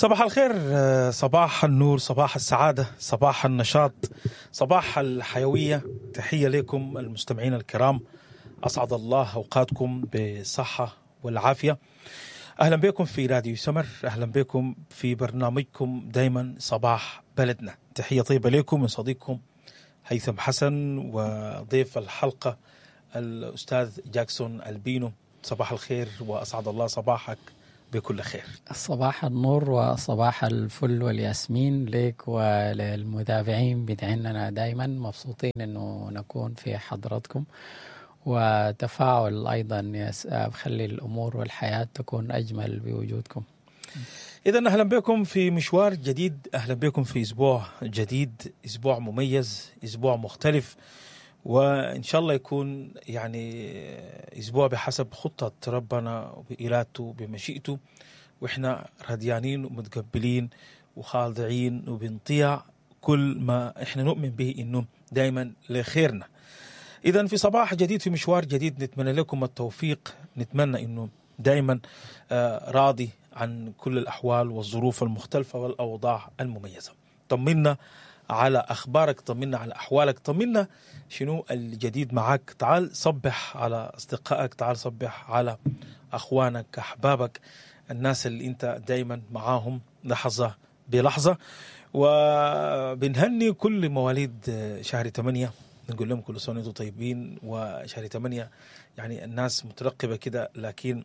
صباح الخير، صباح النور، صباح السعادة، صباح النشاط، صباح الحيوية. تحية لكم المستمعين الكرام، أسعد الله أوقاتكم بالصحة والعافية. أهلا بكم في راديو سمر، أهلا بكم في برنامجكم دايما صباح بلدنا. تحية طيبة لكم من صديقكم هيثم حسن وضيف الحلقة الأستاذ جاكسون البينو. صباح الخير وأسعد الله صباحك بكل خير. صباح النور وصباح الفل والياسمين لك وللمتابعين بتاعنا. دايما مبسوطين انه نكون في حضرتكم، وتفاعل ايضا بخلي الامور والحياة تكون اجمل بوجودكم. إذا أهلا بكم في مشوار جديد، أهلا بكم في أسبوع جديد، أسبوع مميز، أسبوع مختلف، وإن شاء الله يكون يعني أسبوع بحسب خطة ربنا وبإرادته بمشيئته، وإحنا رضيانين ومتقبلين وخاضعين وبنطيع كل ما إحنا نؤمن به إنه دايما لخيرنا. إذا في صباح جديد، في مشوار جديد، نتمنى لكم التوفيق، نتمنى إنه دايما راضي عن كل الأحوال والظروف المختلفة والأوضاع المميزة. طمنا على أخبارك، طمنا على أحوالك، طمنا شنو الجديد معاك. تعال صبح على أصدقائك، تعال صبح على أخوانك، أحبابك، الناس اللي أنت دايما معاهم لحظة بلحظة. وبنهني كل مواليد شهر 8، نقول لهم كل سنة وانتم طيبين. وشهر 8 يعني الناس مترقبة كده، لكن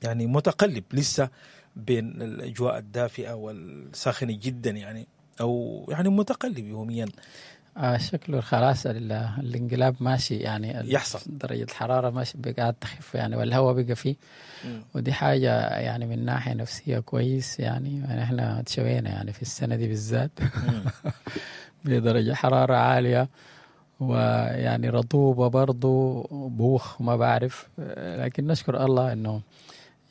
يعني متقلب لسه بين الأجواء الدافئة والساخنة جدا، يعني أو يعني متقلب يوميا. شكله خلاص الانقلاب ماشي، يعني يحصل درجة الحرارة ماشي بقى تخف يعني، والهواء بقى فيه، ودي حاجة يعني من ناحية نفسية كويس. يعني احنا تشوينا يعني في السنة دي بالذات بدرجة حرارة عالية ويعني رطوبة برضو بوخ ما بعرف، لكن نشكر الله انه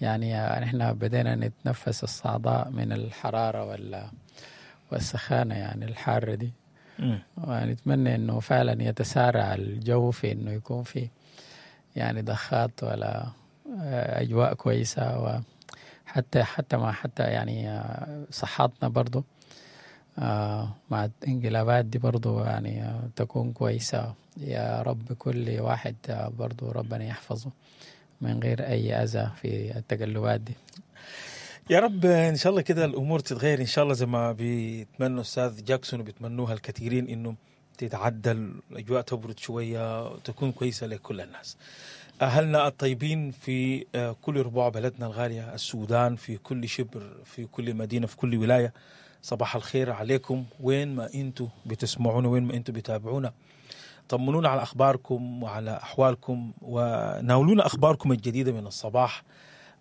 يعني احنا بدينا نتنفس الصعداء من الحرارة والسخانة يعني الحارة دي. ونتمنى انه فعلا يتسارع الجو في انه يكون في يعني ضخات ولا اجواء كويسة، وحتى حتى ما حتى يعني صحتنا برضو مع الانقلابات دي برضو يعني تكون كويسة. يا رب كل واحد برضو ربنا يحفظه من غير أي أذى في التقلبات دي يا رب. إن شاء الله كده الأمور تتغير إن شاء الله، زي ما بيتمنوا أستاذ جاكسون وبيتمنوها الكثيرين، إنه تتعدل الأجواء، تبرد شوية، تكون كويسة لكل الناس. أهلنا الطيبين في كل ربوع بلدنا الغالية السودان، في كل شبر، في كل مدينة، في كل ولاية، صباح الخير عليكم وين ما أنتوا بتسمعونا، وين ما أنتوا بتابعونا. طمنونا على أخباركم وعلى أحوالكم، وناولونا أخباركم الجديدة من الصباح.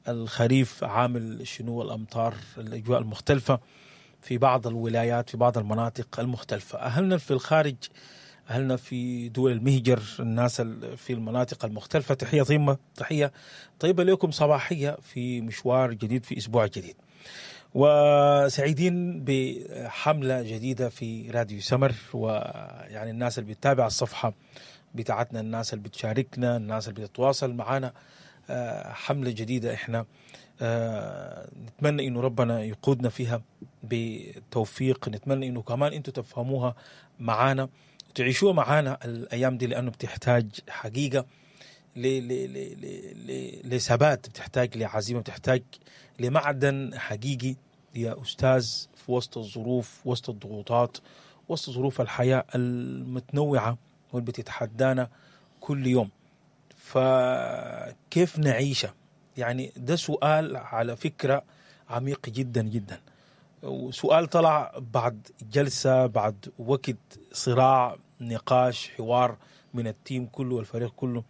الخريف عامل شنو، الأمطار، الأجواء المختلفة في بعض الولايات، في بعض المناطق المختلفة. أهلنا في الخارج، أهلنا في دول المهجر، الناس في المناطق المختلفة، تحية طيبة، تحية طيبة لكم صباحية في مشوار جديد، في أسبوع جديد. وسعيدين بحملة جديدة في راديو سمر، ويعني الناس اللي بتتابع الصفحة بتاعتنا، الناس اللي بتشاركنا، الناس اللي بتتواصل معنا، حملة جديدة احنا نتمنى انه ربنا يقودنا فيها بتوفيق، نتمنى انه كمان انتم تفهموها معانا وتعيشوها معانا الايام دي، لانه بتحتاج حقيقة لثبات، بتحتاج لعزيمة، بتحتاج لمعدن حقيقي يا أستاذ في وسط الظروف، وسط الضغوطات، وسط ظروف الحياة المتنوعة واللي بتتحدانا كل يوم. فكيف نعيشها؟ يعني ده سؤال على فكرة عميق جدا جدا، وسؤال طلع بعد جلسة، بعد وقت صراع، نقاش، حوار من التيم كله والفريق كله.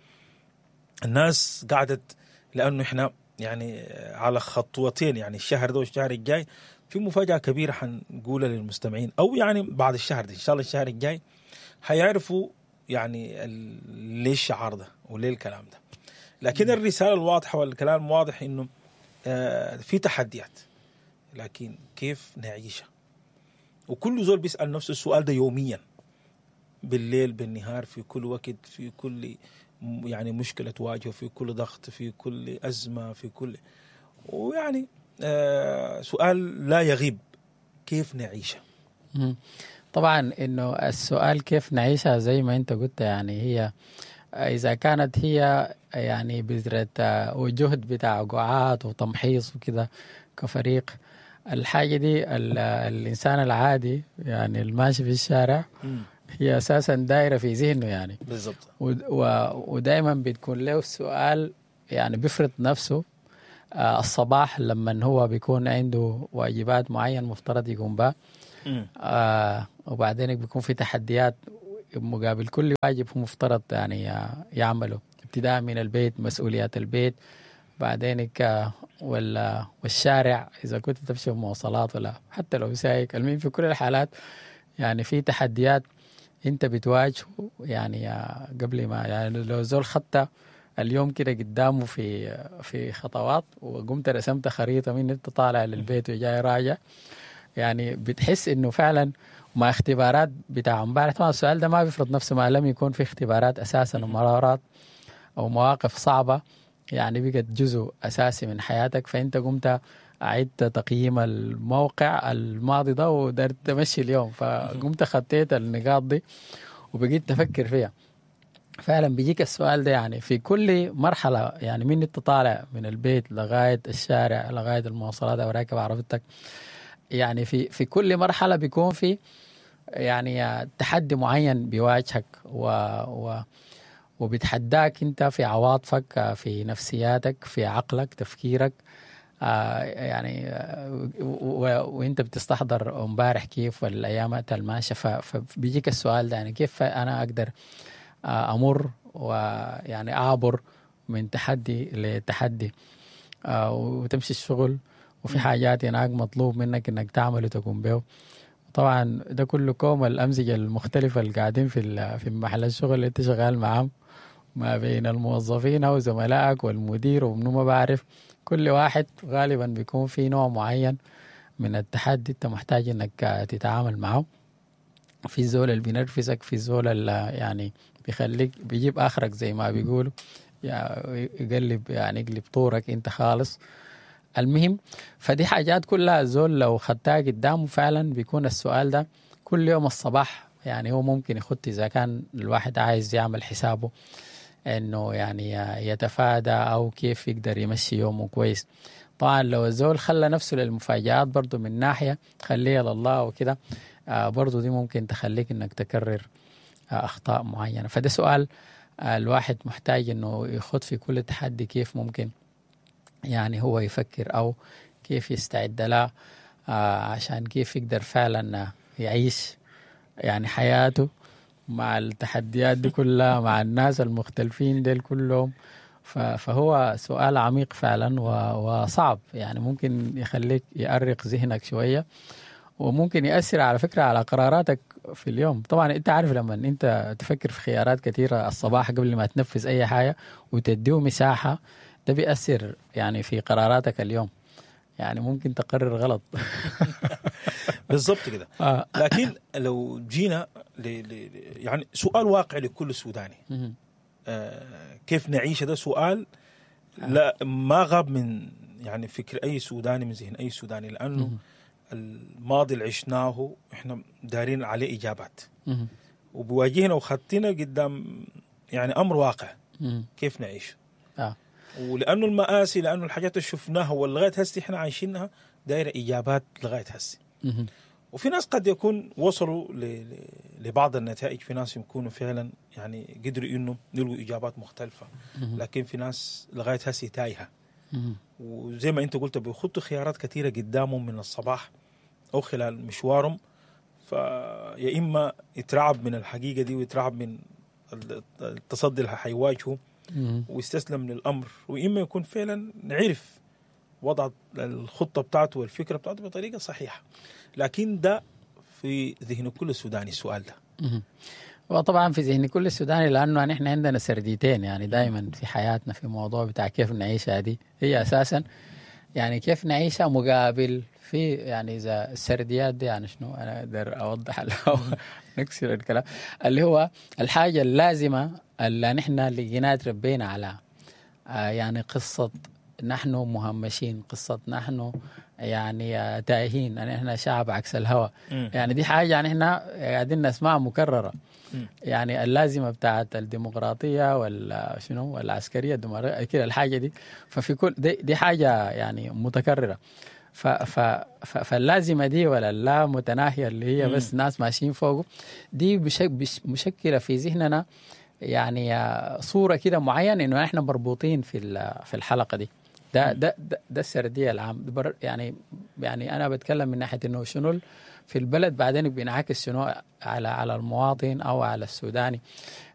الناس قعدت، لأنه إحنا يعني على خطوتين، يعني الشهر ده والشهر الجاي في مفاجأة كبيرة حنقولها للمستمعين، أو يعني بعد الشهر ده إن شاء الله الشهر الجاي حيعرفوا يعني ليه الشعار ده وليه الكلام ده. لكن الرسالة الواضحة والكلام واضح إنه في تحديات، لكن كيف نعيشها؟ وكل زول بيسأل نفسه السؤال ده يوميا، بالليل بالنهار، في كل وقت، في كل يعني مشكلة تواجهه، في كل ضغط، في كل أزمة، في كل، ويعني سؤال لا يغيب، كيف نعيشها؟ طبعا انه السؤال كيف نعيشها زي ما انت قلت، يعني هي اذا كانت هي يعني بذرة وجهد بتاع قعات وتمحيص وكده كفريق، الحاجة دي الإنسان العادي يعني الماشي في الشارع هي أساسا دايرة في ذهنه يعني بالضبط، ودائما بتكون له السؤال يعني بيفرض نفسه الصباح لما هو بيكون عنده واجبات معين مفترض يقوم بها، وبعدين بيكون في تحديات مقابل كل واجب هو مفترض يعني يعمله، ابتداء من البيت، مسؤوليات البيت، بعدين والشارع إذا كنت تمشي بمواصلات ولا حتى لو سايق. المهم في كل الحالات يعني في تحديات أنت بتواجهه يعني قبل ما يعني لو زول خطة اليوم كده قدامه في خطوات وقمت رسمت خريطة من أنت طالع للبيت وجاي راجع، يعني بتحس إنه فعلا مع اختبارات بتاع امبارح. طبعا السؤال ده ما بيفرض نفسه ما لم يكون في اختبارات أساسا ومرارات أو مواقف صعبة يعني بقت جزء أساسي من حياتك، فأنت قمت أعدت تقييم الموقع الماضي ده ودرت تمشي اليوم، فقمت خطيت النقاط دي وبقيت تفكر فيها. فعلا بيجيك السؤال ده يعني في كل مرحلة، يعني من انت طالع من البيت لغاية الشارع لغاية المواصلات أو راكب عربيتك، يعني في كل مرحلة بيكون في يعني تحدي معين بيواجهك وبيتحداك انت في عواطفك، في نفسياتك، في عقلك، تفكيرك، يعني وانت بتستحضر امبارح كيف والايامات الماشية، فبيجيك السؤال ده يعني كيف انا اقدر امر ويعني اعبر من تحدي لتحدي، وتمشي الشغل وفي حاجات هناك مطلوب منك انك تعمل وتقوم به. طبعا ده كله كوم الأمزجة المختلفة اللي قاعدين في محل الشغل اللي انت شغال معاهم، ما بين الموظفين أو زملائك والمدير ومنو ما بعرف، كل واحد غالبا بيكون في نوع معين من التحدي انت محتاج انك تتعامل معه. في الزول اللي بينرفزك، في الزول اللي يعني بيخليك بيجيب آخرك زي ما بيقولوا، يعني يقلب يعني يقلب طورك انت خالص. المهم فدي حاجات كلها الزول لو خدتها قدامه فعلا بيكون السؤال ده كل يوم الصباح، يعني هو ممكن يخط إذا كان الواحد عايز يعمل حسابه إنه يعني يتفادى أو كيف يقدر يمشي يومه كويس. طبعا لو الزول خلى نفسه للمفاجآت برضو من ناحية خليها لله وكده، برضو دي ممكن تخليك إنك تكرر أخطاء معينة. فده سؤال الواحد محتاج إنه يخط في كل تحدي كيف ممكن يعني هو يفكر أو كيف يستعد لها، عشان كيف يقدر فعلا يعيش يعني حياته مع التحديات دي كلها، مع الناس المختلفين ديل كلهم. فهو سؤال عميق فعلا وصعب، يعني ممكن يخليك يأرق ذهنك شوية، وممكن يأثر على فكرة على قراراتك في اليوم. طبعا انت عارف لما انت تفكر في خيارات كثيرة الصباح قبل ما تنفذ أي حاجة وتديه مساحة، ده بيأثر يعني في قراراتك اليوم، يعني ممكن تقرر غلط. بالضبط كده. لكن لو جينا يعني سؤال واقع لكل سوداني، كيف نعيش، ده سؤال لا ما غاب من يعني فكر أي سوداني، من ذهن أي سوداني، لأنه الماضي اللي عشناه إحنا دارين عليه إجابات، وبواجهنا وخطينا قدام يعني أمر واقع، كيف نعيش. ولأنه المآسي، لأنه الحاجات اللي شفناها ولغاية هسي إحنا عايشينها دايرة إجابات لغاية هسي. وفي ناس قد يكون وصلوا لبعض النتائج، في ناس يكونوا فعلا يعني قدروا إنه يلقوا إجابات مختلفة، لكن في ناس لغاية هسي تايهة. وزي ما أنت قلت بيخطوا خيارات كثيرة قدامهم من الصباح أو خلال مشوارهم، فيا إما يترعب من الحقيقة دي ويترعب من التصدي اللي حيواجهه ويستسلم للأمر، وإما يكون فعلا عرف وضع الخطة بتاعته والفكرة بتاعته بطريقة صحيحة. لكن ده في ذهن كل سوداني السؤال ده. وطبعا في ذهن كل سوداني، لأنه نحن عندنا سرديتين يعني دائما في حياتنا في موضوع بتاع كيف نعيشها، دي هي أساسا يعني كيف نعيشها مقابل في يعني إذا السرديات دي يعني شنو، أنا أقدر أوضح نكسر الكلام اللي هو الحاجة اللازمة اللي نحن لقيناها تربينا على يعني قصة نحن مهمشين، قصة نحن يعني تائهين، يعني احنا شعب عكس الهوى. يعني دي حاجة يعني احنا قاعدين نسمعها مكررة. يعني اللازمة بتاعت الديمقراطية ولا شنو والعسكرية الديمقراطية كده الحاجة دي، ففي كل دي حاجة يعني متكررة. ف ف فاللازمة دي ولا اللا متناهية اللي هي بس ناس ماشيين فوقه دي مشكلة في ذهننا، يعني صورة كده معينة إنه إحنا مربوطين في الحلقة دي. ده السردية العام. يعني أنا بتكلم من ناحية إنه شنو في البلد، بعدين بينعكس شنو على المواطن أو على السوداني.